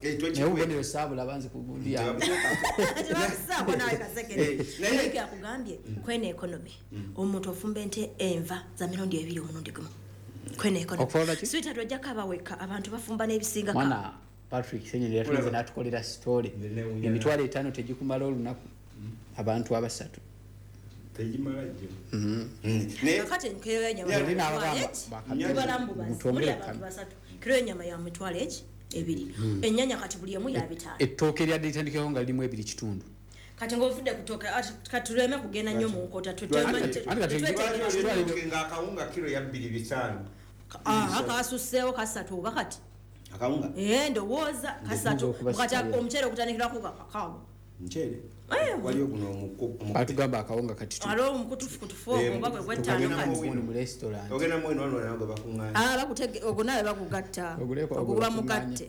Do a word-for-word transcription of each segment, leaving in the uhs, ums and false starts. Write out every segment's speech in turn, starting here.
Naye obubonero saabulaba nze ku gundi yange. Tebakusaako naawe kasekere. Eh, naye- Naye akugambye kweno economy, omuntu ofumba ente enva za mirundi ebiri omulundi gumu kweno Okukola economy. ki? Sweetheart, ojjako abaweka abantu bafumba n'ebisingako. Mwana Patrick Senyonyi yatulinze n'atukolera story. Newuunya. Emitwalo etaano tegikumala olunaku abantu abasatu. Tegimala gyo. Naye Kakati kiro y'ennyama Yali ya n'abagamba, mitwalo eki? bakabiri. Tubala mbubazi. Mutongere Muli abantu kano. basatu, kiro y'ennyama ya mitwalo eki ebiri, ennyanya kati buli emu ya bitaano. Ettooke eryadde litandikeko nga lirimu ebiri kitundu. Kati ng'ovudde kutoka, kati tuleme kugenda nnyo mu nkota. Anti kati- anti kati- lwaki olina nga akawunga kiro ya bbiri bitaano? Kasusseewo kasatu oba kati. Akawunga? Eh, ndowooza kasatu. okuba Kati sitayiro. omuceere okutandikirako kakaago. Muceere Eh. waliyo guno omuku- omuku- Batugamba akawunga kati tu- Aliwo omukutufukutufu Eh, ogwo oba gwe gwettaano. tugenda Kati mu- gundi mu restaurant. Ogenda mweno wano nago bakuŋŋaanya. Ah, bakutege ogwo nawe bakugatta. Oguleko ogwo ogwo guba bakuŋŋaanya. mugatte.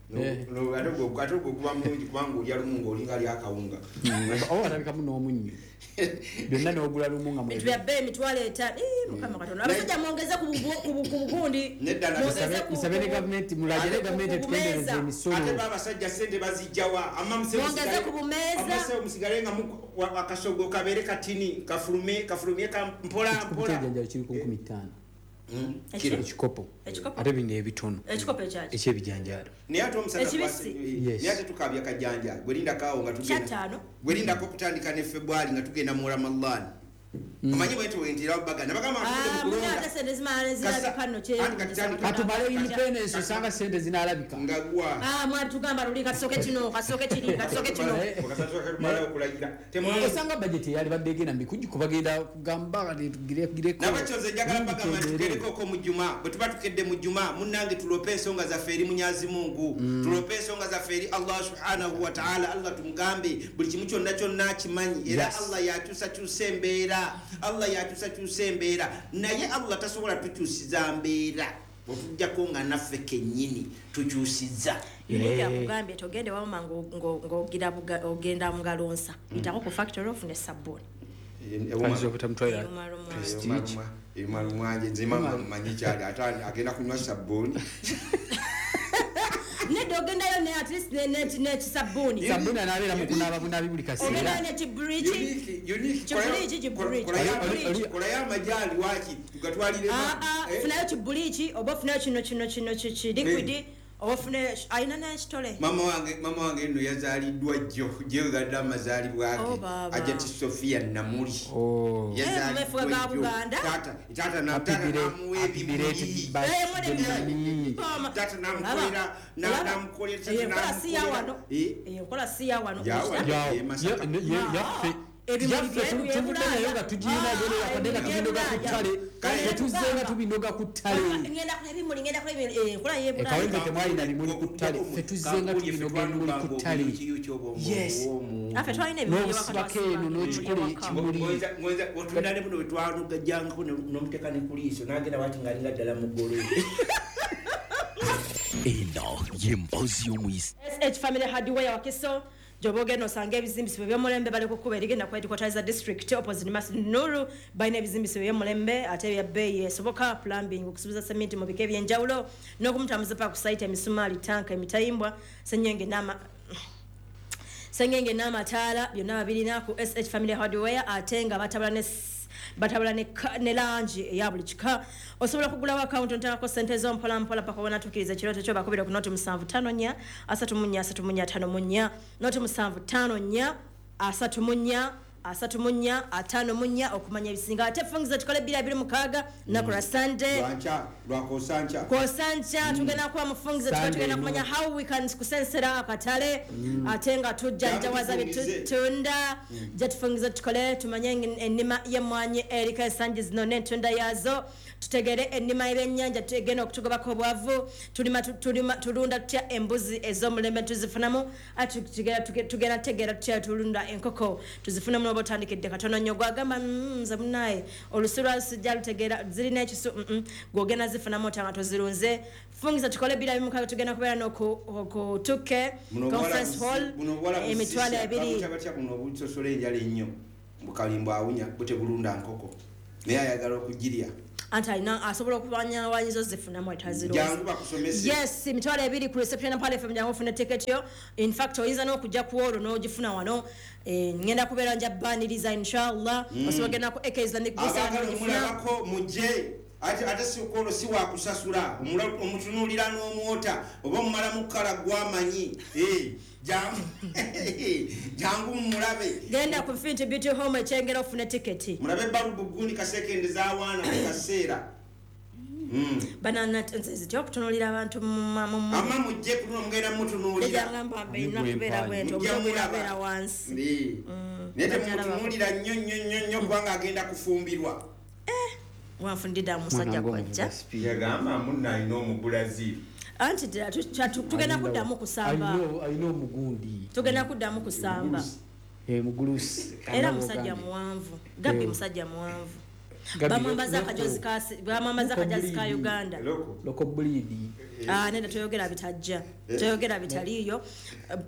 No- Eh. no, ate ogwo ate ogwo guba mulungi kubanga olya lumu ng'olinga ali akawunga. Oba watabikamu n'omunnyo byonna n'ogula lumu nga Bintu bya bbeeyi emitwalo etaano. Ii, Mukama Katonda, abasajja mwongeze ku bugu- ku bu- ku bugundi. Nedda, na- Mwongeze Musabe- ku- musabe ne ku- gavumenti, mulagire ku- gavumenti ku etukendeereze bumeeza. emisolo. Ate ba abasajja sente bazijjawa? Mwongeze ku bumeeza. Musigale nga mu- wa- akasogo kabeere katini, kafulume kafulumye ka mpola Ekikopo mpola. ky'ebijanjaalo kiri ku nkumi ttaano. Eki- Ekikopo. Ekikopo? Ate bino ebitono. Ekikopo ekyaki? Ekyebijanjaalo. Naye ate omusajja Ekibisi? Yes. Naye ate tukabya kajanja gwerindako awo nga tugenda Kyataano. Gwerindako okutandika ne Febwali nga tugenda mu Ramadan. Omanyi bwenti wentirawo baganda bagamba Ah, tugende mu muna ate kulonda. sente zimala nezirabika nno. Kasa- anti kati tandika- Katumale independence, osanga sente zinaalabika. Nga gwa Ah, mwatugamba luli kasooke kino, kasooke kiri, kasooke kino. Okasasula okulayira. Temwa- Osanga budget eyali badde egenda mubikujjuko bagenda kugamba kati tugire- tugireko. Nabakyoze njagala bagamba nti tugerekoko mu Juma. Bwe tuba tukedde mu Juma, munnange, tulope ensonga zaffe eri Munyazi Mungu, tulope ensonga zaffe eri Allah subhanahu wataala. Allah tumugambe buli kimu kyonna kyonna akimanyi era Yes. Allah yakyusakyusa embeera, Allah yakyusakyusa embeera. Naye Allah tasobola tukyusiza mbeera otujjako nga naffe kennyini tukyusiza. Unique akugambye togende wamma ng'ogira buga- ogenda mu ngalo nsa, yitako ku factory ofune sabbuuni. Ayinza obutamutwalira Erumaluma. Prestige. Emalumwanje nze mama manyi kyali ate agenda kunywa sabbuuni. Nedda, ogendayo ne at least ne- ne- n'ekisabbuuni. Sabbuuni anaabeera mu kunaaba bunabi buli kaseera. Ogendayo n'ekiburiiki. Kiburiiki, kiburiiki. Oli- Kolayo amajaani waki tugatwalire. Ah, ah, funayo kiburiiki oba ofunayo kino kino kino ki liquid oba ofunayo alina n'ekitole. Mama wange, mama wange nno yazaaliddwa jjo gyegadde amazaalibwa Oh, ge. baaba. Ajati Sofia Namuli. Oh. Eh, mumefuga ga Buganda. Taata taata na- Happy taata belated- namuwa happy belated ebimuli. birthday, Eh, Mami. Mama. Taata namukolera na- Olaba? namukolera Eyo enkola si ya wano. Eh? Eyo enkola si ya wano. Ya wano. Ya- Ye Masaka. ye- ye- yaffe. Ebimuli Yaffe bye- tu- bye tuvudde nayo Bulaaya. nga tugirina Ah, geno yakadde nga ebimuli tubinoga bye ku ttale. Kale Tetuzze nga tugamba. tubinoga ku ttale. Ngenda kulaba ebimuli, ngenda kulaba ebimuli. Eh, enkola y'e Bulaaya. Ekawempe temwalina bimuli ku ttale, ffe tuzze nga tubinoga ebimuli ku ttale. Yes. Naffe twalina ebimuli ewaka. N'obusibako eno Twasibanga n'okikola ebimuli ewaka. ekimuli. Otundane buno bwetwanugajjangako nomuteeka ne kuliiso nagenda bati ngaalinga ddala mugolo. Eno y'emboozi y'omuyisi. S H Family Hardware Wakiso gyoba ogenda osanga ebizimbisibwa ebyomulembe. Bali kukuba erigenda ku headquarters za district opposite Masjid Nuru. Balina ebizimbisibwa ebyomulembe ate ebya bbeeyi esoboka, plumbing, okusuubiza sementi mu bika ebyenjawulo n'okumutambuza paka ku site, emisumaali, tanka, emitayimbwa, senyenge n'ama sengenge n'amataala, byonna babirina ku S H Family Hardware. Ate nga batabula ne batabula ne, ka- ne langi eya buli kika. Osobola okugulawo akawunti onteekako sente zo mpola mpola paka wonatuukiriza ekirooto kyo. Bakubira ku noti musanvu ttaano nnya asatu mu nnya asatu mu nnya ataano mu nnya, noti musanvu ttaano nnya asatu mu nnya asatu mu nnya ataano mu nnya okumanya ebisinga. Ate fungiza tukole bbiri abiri mukaaga lunaku lwa Sunday. Lwanca lwakosanca. Kosanca tugenda kuba mufungize tuba Sunday tugenda no. kumanya how we can kusensera akatale ate nga tujjanjawaza Tufungize. bitutunda. Jja tufungize tukole tumanye en- ennima y'emmwanyi eriko ensangi zino n'entunda yaazo, tutegere ennima y'ebyennyanja tugenda okutugobako obwavu, tulima tu- tulima tulunda tutya embuzi ez'omulembe tuzifunamu, ate tugenda tugenda tegeera tutya tulunda enkoko tuzifunemu. Noba otandikidde katono nnyo gwagamba, "Mm, nze munaye olusu lwasijja lutegeera zirina ekisu," mm, mm, gwogenda zifunamu otanga tozirunze. Fungiza tukole bbiri abiri mukaaga, tugenda kubeera n'okutukke conference hall emitwalo ebiri. Batya buno obusosola enjala ennyo bukalimbo awunya butebulunda nkoko naye ayagala okugirya. Anti alina asobola okubanyawanyiza ozifunamu Jangu bakusomese. Yes, emitwalo ebiri ku reception ya Pale F M, jangu ofune ticket yo. In fact oyinza n'okujja ku olwo n'ogifuna wano. Eh, ngenda kubeera nja baniriza inshallah. Osobola genda ku A K Islamic Visa Abaagala n'ogifuna. omulabako mujje. Ate ate si kwolwo si wakusasula, omula-, omutunuulira n'omwota oba omumalamu kukala gw'amanyi. Eh, jangu, jangu mumulabe. Genda ku Infinity Beauty Home ekyengera ofune tiketi. Mulabe balubu gundi kasekende z'awaana mu kaseera. Mm. Banana nze zitya okutunuulira abantu mu ma-, mu ma- Amma mujje kuno mugenda mutunuulira. Ejja ngamba mbe nina Mugwe kubeera mpaanyi. bwentyo, Mujja omuntu mulaba. kubeera wansi. Ndi. Mm. Naye Bajja laba. temumutunuulira nnyo nnyo nnyo nnyo kubanga agenda kufumbirwa. Eh, wanfundidde omusajja Mwana kwajja. ng'omuvuga speed. Yagamba munna alina Omubrazil. Anti ddala tu-, tu-, tu-, tugenda Alina kuddamu kusamba. Alina, alina omugundi. Tugenda kuddamu kusamba. Eh, mugulusi. Era Alina musajja omugambi. muwanvu. Gabbi Eh. musajja muwanvu. Gabbi Bamwambaza loko. akajozi ka si-, bamwambaza Loko akajozi ka bleed. Uganda. Loko. Loko bleed. Ah, nenda toyogera bitajja. Eh. Toyogera bitaliiyo.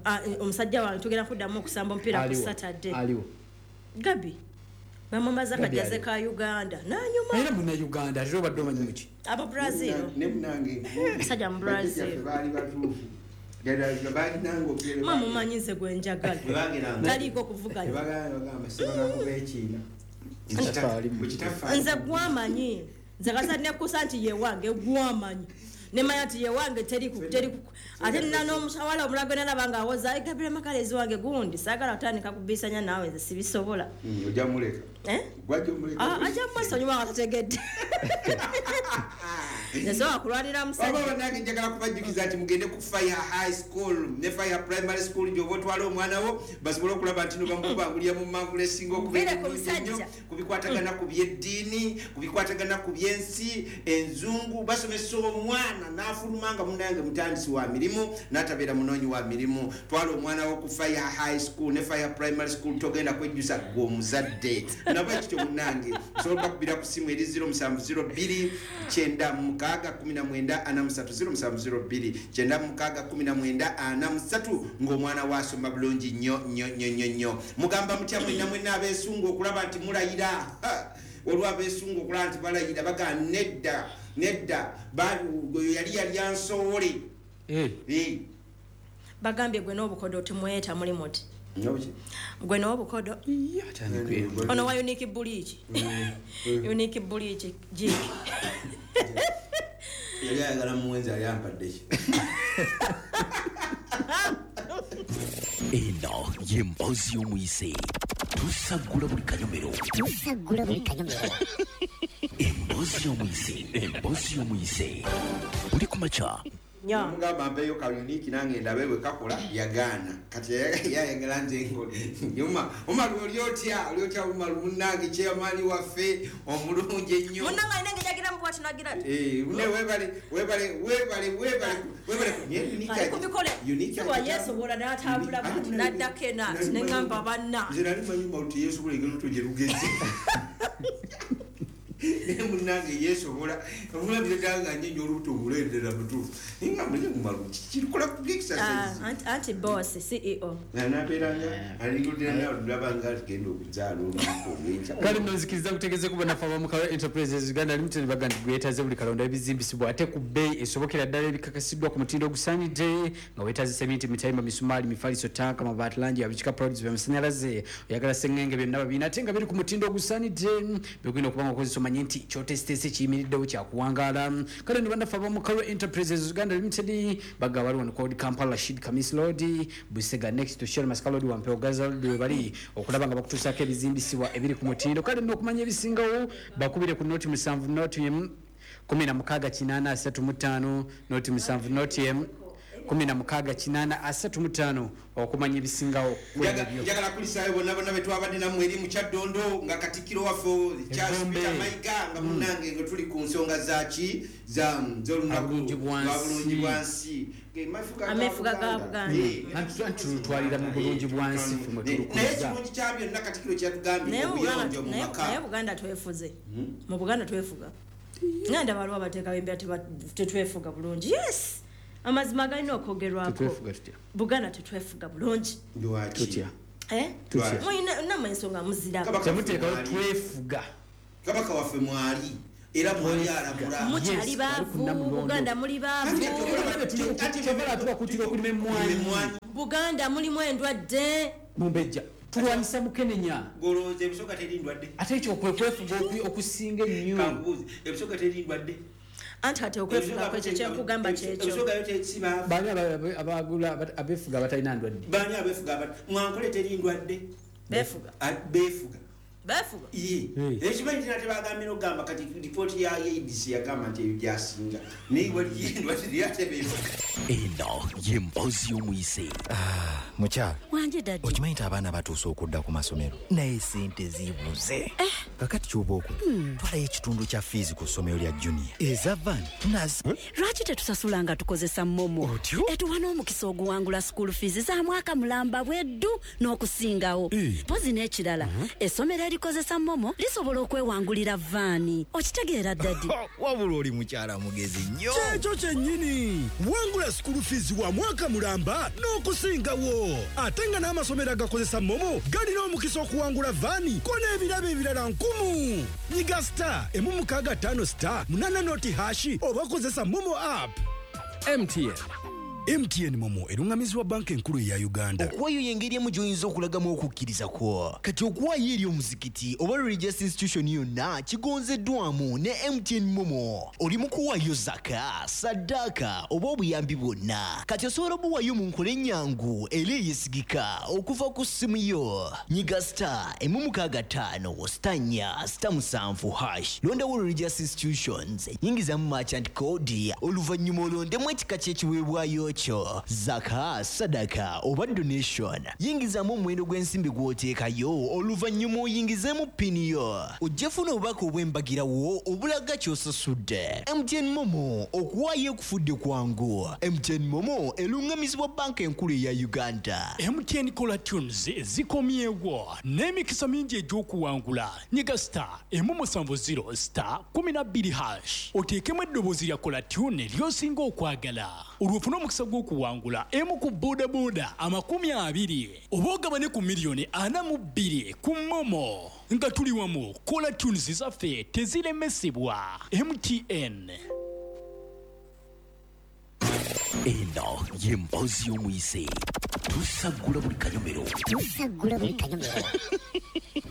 Ah, omusajja wange tugenda kuddamu okusamba omupiira ku Aliwo. Saturday. Aliwo. Gabbi. Bamwambaza Gabbi akajazi aliwo. ka Uganda. N'anyuma. Era munna Uganda, ate obadde omanyi muki? Aba Brazil. Ne munange. Musajja mu Brazil. Bajjajjaffe baali batuufu. Gala baalinanga obyere. Mama mumanyi nze gwe njagala. Bwe bageranga. Taliiko kuvuganya. Bwe bagamba, bagamba, sibala kuba ekiina. Kitaffe Bwe kitaffe Nze gwamanyi. Nze kasa nekusa nti ye wange gwamanyi. Nemanya nti ye wange teri ku, teri ku. Ate nina n'omusawala omulala gwe nalaba ng'awoza, Ai, Gabriel Makalezi wange gundi, saagala kutandika kubisanya naawe nze sibisobola. Mm, ojja muleka. Eh? Gwajja omuleka. Ah, ajja mwesonyiwa nga tategedde. Nze sobola kulwanira musajja. Wabula bannange njagala kubajjukiza nti mugende ku Fire High School ne Fire Primary School gy'oba otwala omwana wo basobole okulaba nti no bamukubangulira mu mangula esinga okubeera Mbeere ku ennungi ennyo, musajja. ku bikwatagana ku by'eddiini, ku bikwatagana ku by'ensi, enzungu, basomesa omwana n'afuluma nga munnange mutandisi wa mirimu n'atabeera munoonyi wa mirimu. Twala omwana wo ku Fire High School ne Fire Primary School, togenda kwejjusa ggwe omuzadde. Nabo ekityo munnange, osobola okubakubira ku ssimu eri zero musanvu zero bbiri kyenda mukaaga kumi na mwenda ana musatu, zero musanvu zero bbiri kyenda mukaaga kumi na mwenda ana musatu, ng'omwana we asoma bulungi nnyo nnyo nnyo nnyo nnyo. Mugamba mutya mwenna mwenna abeesunga okulaba nti mulayira? Ha! Olwo abeesunga okulaba nti balayira bagamba nedda, nedda, ba-, oyo yali yali ansowole. Eh. Eh. Bagambye gwe n'obukodo temweta muli muti. N'obuki? Gwe n'obukodo. Iya, atandika Eh, Ono wa unique bleach. Eh, eh. Unique bleach, jik. Yali ayagala muwenzi ali ampadde ki? Eno ye mboozi y'omuyise. Tusaggula buli kanyomero. Tusaggula buli kanyomero. Emboozi y'omuyise. Emboozi y'omuyise. Buli ku makya. Nya. Mugamba mpeeyo ka unique nange ndabe bwe kakola, yagaana. Kati yayagala nze ngole. Nyuma, Umar oli otya? Oli otya Umar munnange chairman waffe omulungi ennyo. Munnange alina engeri gy'agira mu bw'ati n'agira ati. Eh, ne weebale, weebale, weebale, weebale, weebale. Nye unique Ali ku ati- mikolo. unique Si wa ati- yeesobola n'atambula Unique bw'ati, ati- n'addako eno ati, ne ŋŋamba banna. Nze nali manyi Umar nti yeesobola engeri olubuto gye lugeze. Naye munnange yeesobola. Omulabira ddala nga nnyo olubuto okuleetera mutuufu. Naye nga mulimu Umar, kirikola ku exercise. Ah, anti, anti boss, C E O. Na nabeera nga, aligudira nawe olaba nga agenda okuzaala olunaku olw'enkya. Kale nno nzikiriza nkutegeeze ku bannaffe aba Mukalo Enterprises Uganda Limited baga nti gwetaaze buli kalonda ebizimbisibwa ate ku bbeeyi esobokera ddala ebikakasiddwa ku mutindo ogusaanidde, nga weetaaze seminti, mitayimba, misumaali, mifaliso, tanka, mabaati, langi, abikika products by'amasannyalaze, oyagala sengenge byonna babiina ate nga biri ku mutindo ogusaanidde, byogenda okuba nga okozesa omanye nti ky'oteesiteese kiyimiriddewo kyakuwangaala. Kale nno bannaffe aba Mukalo Enterprises Uganda Limited baga waliwo wano called Kampala Rashid Kamis Road, Busega next to Shell Masaka Road, Wampewo Gaza Road we bali okulaba nga bakutuusaako ebizimbisibwa ebiri ku mutindo. Kale nno okumanya ebisingawo bakubire ku noti musanvu noti emu kumi na mukaaga kinaana asatu mu ttaano, noti musanvu noti emu kumi na mukaaga kinaana asatu mu ttaano okumanya ebisingawo ku Njaga- ebyo. Njagala kulisaayo bonna bonna be twabadde nammwe eri mu Kyaddondo nga katikkiro waffe Charles Egombe. Peter Mayiga nga Mm. munnange nga tuli ku nsonga za ki? Za, z'olunaku Abulungi bwansi. lwa bulungi bwansi. Ge mafuga ga Amefuga ga Buganda. Buganda. Eh. Anti tu-, anti tulutwalira mu bulungi bwansi ffe mwe Naye tulukuza. ekirungi kya byonna katikkiro kyatugambye Naye mu Buganda obuyonjo mu naye maka. naye Buganda twefuze. Hmm? Mu Buganda twefuga. Nga ndaba waliwo abateekawo embeera teba-, tetwefuga bulungi. Yes. Amazima galina okwogerwako. Tetwefuga tutya? Buganda tetwefuga bulungi. Lwaki? Tutya? Eh? Tutya? Mulina nammwe ensonga muziraba. Kabaka Temuteekawo waffe mwali. twefuga. Kabaka waffe mwali. Era mwali alamula. Mukyali baavu, Buganda muli baavu. Tuba okulima emmwanyi. Buganda mulimu endwadde. Mumbejja. Tulwanyisa mukenenya. Golowooza ebisoga teri ndwadde. Ate ekyo kwe kwefuga okusinga ennyo. Kankubuuze, ebisoga teri ndwadde. Anti ate okwefuga kwekyo kyenkugamba kyekyo. Ebisoga yo tesiba. Baani abagula abeefuga abatalina ndwadde? Baani abeefuga abat mwankole teri ndwadde. Beefuga. Beefuga. Beefuga. Ye. Ekimanyi nti tebagambye n'okugamba kati ripooti ya A B C yagamba nti ebyo byasinga. Naye waliyo endwadde ate beefuga. Eno ye mboozi y'omuyise. Mukyala. Wanje daddy. Okimanyi nti abaana batuuse okudda ku masomero naye sente zibuze. Eh. Kakati ky'oba okola twalayo ekitundu kya fiizi ku ssomero lya junior eza van nazi. Lwaki tetusasula nga tukozesa MoMo? Etuwa n'omukisa oguwangula school fees za mwaka mulamba bweddu n'okusingawo. Mpozi n'ekirala essomero erikozesa MoMo lisobola okwewangulira vaani. Okitegeera daddy? Wabula oli mukyala mugezi nnyo. Kyekyo kyennyini. Wangula school fees wa mwaka mulamba n'okusingawo. Ate nga n'amasomero agakozesa MoMo galina omukisa okuwangula vaani ko n'ebirabo ebirala nkumu. Nyiga star emu mukaaga ttaano star munana noti hashi oba kozesa MoMo app. M T N. M T N MoMo erungamizibwa banka enkulu ya Uganda. Okuwaayo y'engeri emu gy'oyinza okulagamu okukkiriza kwo. Kati okuwaayo eri omuzikiti oba religious institution yonna kigonzeddwamu ne M T N MoMo. Oli mu kuwaayo zaka, saddaaka oba obuyambi bwonna. Kati osobola obuwaayo mu nkola ennyangu era eyeesigika okuva ku ssimu yo. Nyiga star emu mukaaga ttaano star nnya star musanvu hash. Londawo religious institutions, yingizamu merchant code, oluvannyuma olondemu ekika ky'ekiweebwayo kyo zaka, sadaka oba donation. Yingizamu omuwendo gw'ensimbi gw'oteekayo oluvannyuma oyingizeemu pini yo. Ojja funa obubaka obw'embagirawo obulaga ky'osasudde. M T N MoMo okuwaayo ekufudde kwangu. M T N MoMo erungamizibwa banka enkulu eya Uganda. M T N Caller Tunes zikomyewo n'emikisa mingi egy'okuwangula. Nyiga star emu musanvu zero star kumi na bbiri hash oteekemu eddoboozi lya Caller Tune ly'osinga okwagala. Olwo ofune omukisa gw'okuwangula emu ku bodaboda amakumi abiri oba ogabane ku miliyoni ana mu bbiri ku MoMo. Nga tuli wamu, Caller Tunes zaffe teziremesebwa. M T N. Eno ye mboozi y'omuyise. Tusaggula buli kanyomero. Tusaggula buli kanyomero.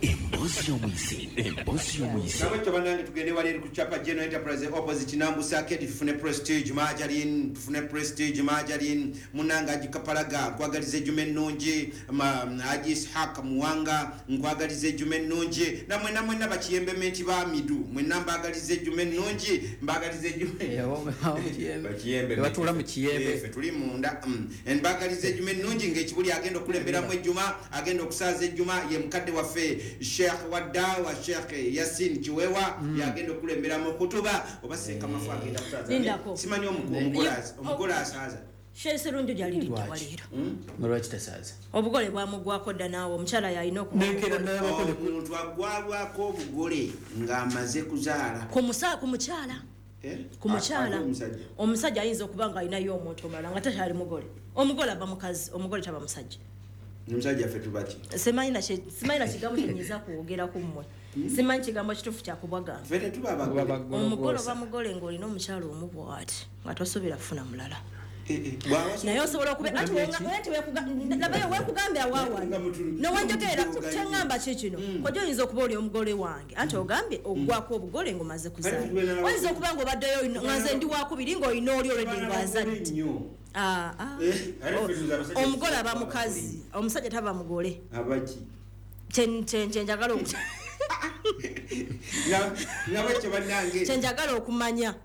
Emboozi y'omuyise. Emboozi y'omuyise. Nabwekyo bannange tugende wali eri ku Chapa General Enterprise opposite Nambusa Arcade tufune Prestige Margarine, tufune Prestige Margarine. Munnange Haji Kapalaga nkwagaliza ejjuma ennungi. Haji Ishaq Muwanga nkwagaliza ejjuma ennungi. Nammwe namwenna bakiyembementi ba Midu mwenna mbaagaliza ejjuma ennungi, mbaagaliza ejjuma. Bakiyembe. Batuula mu kiyembe. Ffe tuli munda. Mbaagaliza ejjuma ennungi ng'ekibuli agenda okulemberamu ejjuma, agenda okusaaza ejjuma ye mukadde waffe Sheikh Wadawa Sheikh Yasin Kiwewa yagenda okulemberamu kutuba oba Ssekamafu agenda kusaaza. Simanyi omugole asaaza. Sheikh Serunjo gyaliridde waleero. Lwaki tasaaza? Obugole bwamugwako dda naawe omukyala yalina omuntu agwabwako obugole ng'amaze kuzaala. Ku mukyala. Ku mukyala omusajja ayinza okuba nga alinayo omuntu omulala nga takyali mugole. Omugole aba mukazi, omugole taba musajja. Omusajja ffe tubaki? Simanyi na kigambo kyenyinza kwogera ku mmwe. Simanyi kigambo kituufu kyakubagamba. Ffe tetuba abagole. Omugole oba mugole ng'olina omukyala omu bw'ati nga tosobola kufuna mulala. Naye osobola okuba ati labayo weekugambira waawano nowanjogerera kyeŋŋamba ki kino kojja oyinza okuba oli omugole wange anti ogambye oggwako obugole ng'omaze kuzaala. Oyinza okuba ng'obaddeyo nga nze ndi wakubiri ng'olina oli already ng'azadde. Omugole aba mukazi, omusajja taba mugole. Abaki? Kyenjagala kyenjagala okumanya.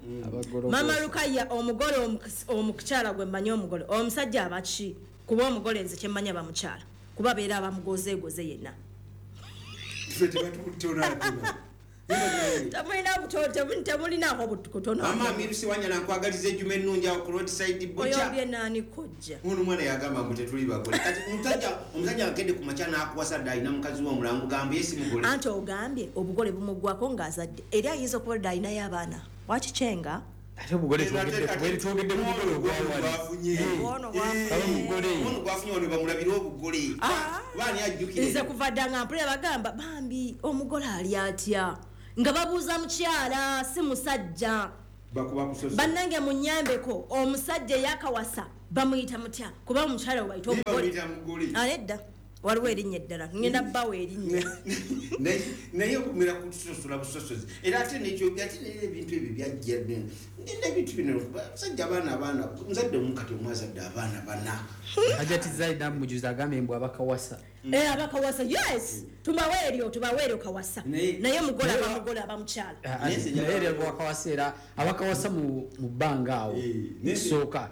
Mama Lukaya omugole omukyala gwe mmanyi omugole omusajja abaki? Kuba omugole nze kyemmanya bamukyala kuba beera abamugozeegoze yenna. Temulinaako kutono. Mama Amiru Sewanyana nkwagaliza ejjuma ennungi awo ku roadside butcher. Oyo bye naani kojja. Ono omwana yagamba mbu tetuli bagole. Kati omusajja omusajja agende ku makya n'akuwasa dda alina mukazi we omulala ng'ogamba ye si mugole. Anti ogambye obugole bumugwako ng'azadde. Era ayinza okuba dda alinayo abaana. Wakikyenga? Ate obugole twogedde twogedde ku mugole ogwafunye. Ono gwafunye. Ono gwafunye ono bamulabira obugole. Baani ajjukire. Nze kuva dda nga mpulira bagamba bambi omugole ali atya. Nga babuuza mukyala si musajja. Bannange munyambeko, omusajja eyakawasa bamuyita mutya? Kuba omukyala we bayita omugole. Aledda waliwo erinnya eddala, ngenda bbawo erinnya. Naye okumira kutusosola busosozi. Era ate nekyo ate ebintu ebyo byajja n'ebintu bino abasajja abaana abaana omuzadde omu kati omwazadde abaana bana. Hajati Zaida Mujuzi agambye mbu abakawasa. Eh, abakawasa, yes, tubawe eryo, tubawe eryo kawasa. Naye mugole aba mugole aba mukyala. Naye eryo abakawasa era abakawasa mu bbanga awo kisooka.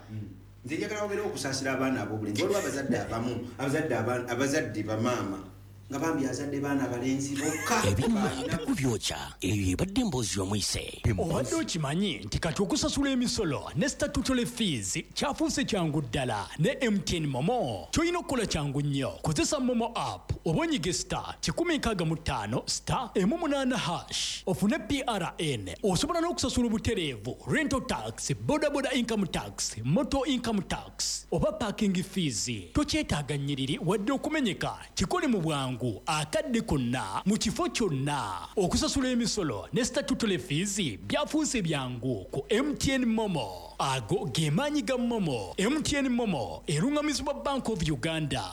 Nze njagala wabeerewo okusaasira abaana ab'obulenzi. Waliwo abazadde abamu, abazadde abazadde bamaama nga bambi azadde baana balenzi bokka. Ebyuma bikubyokya, eyo ebadde emboozi y'omuyise. Obadde okimanyi nti kati okusasula emisolo ne statutory fees kyafuuse kyangu ddala ne M T N Momo. Ky'olina okukola kyangu nnyo. Kozesa Momo app oba onyige star kikumi nkaaga mu ttaano star emu munaana hash ofune P R N. Osobola n'okusasula obutereevu rental tax, boda boda income tax, motor income tax oba parking fees. Tokyetaaga nnyiriri wadde okumenyeka, kikole mu bwangu akadde konna mu kifo kyonna. Okusasula emisolo ne statutory fees byafuuse byangu ku M T N Momo. Ago ge maanyi ga Momo. M T N Momo erungamizibwa Bank of Uganda.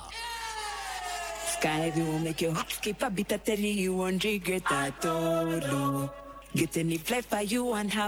Sky will make your heart skip a bit, I tell you you won't regret at all. Get any flight for you and have